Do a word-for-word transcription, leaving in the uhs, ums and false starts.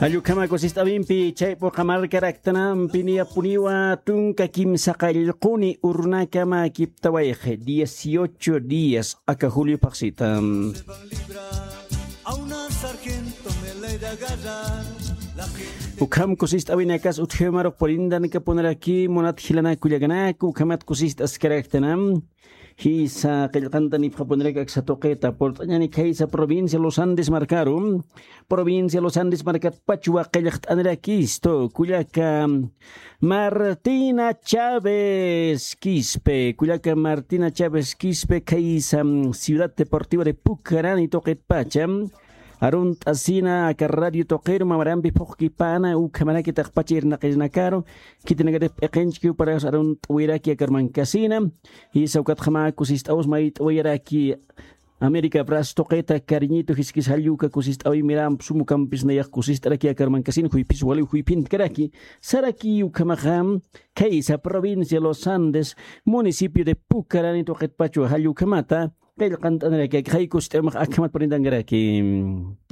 Jall ukhama kusist'awimpi chayp'uqa markaraktanampi niyapuniwa tunka kimsa qallquni urunakama kiptawayxi, dieciocho días aka julio phaxsita. Ukham kusist'awinakas utjiw marux purintanakapunaraki munat jilanak kullakanaku, ukhamat kusist'askaraktanam. Jisa qillqantanipxapuniraki aksa tuqita purt'añani khaysa provincia Los Andes markaru. Provincia Los Andes markatpachwa qillqt'anirakistu kullaka Martina Chávez Quispe, kullaka Martina Chávez Quispe khaysa Ciudad Deportiva de Pucarani tuqitpacha arunt'asina aka radio tuqiru mamarampi phuqkipana ukhamaraki taqpacha irnaqinakaru. Khitinakatix p'iqinchki uparas arunt'wiraki akarmankasina. Jisa ukatxama kusist'awus mayt'wiraki América Bras tuqita cariñito jiskis jalluka kusist'awi miramp sumukampis nayax kusist'araki akarmankasina juypis waliw juypintkaraki. Saraki ukhamaxa khaysa provincia Los Andes, municipio de Pucarani tuqitpachwa jallukhamata qillqant'aniraki akxay kusist'awmax akhamat purintankaraki.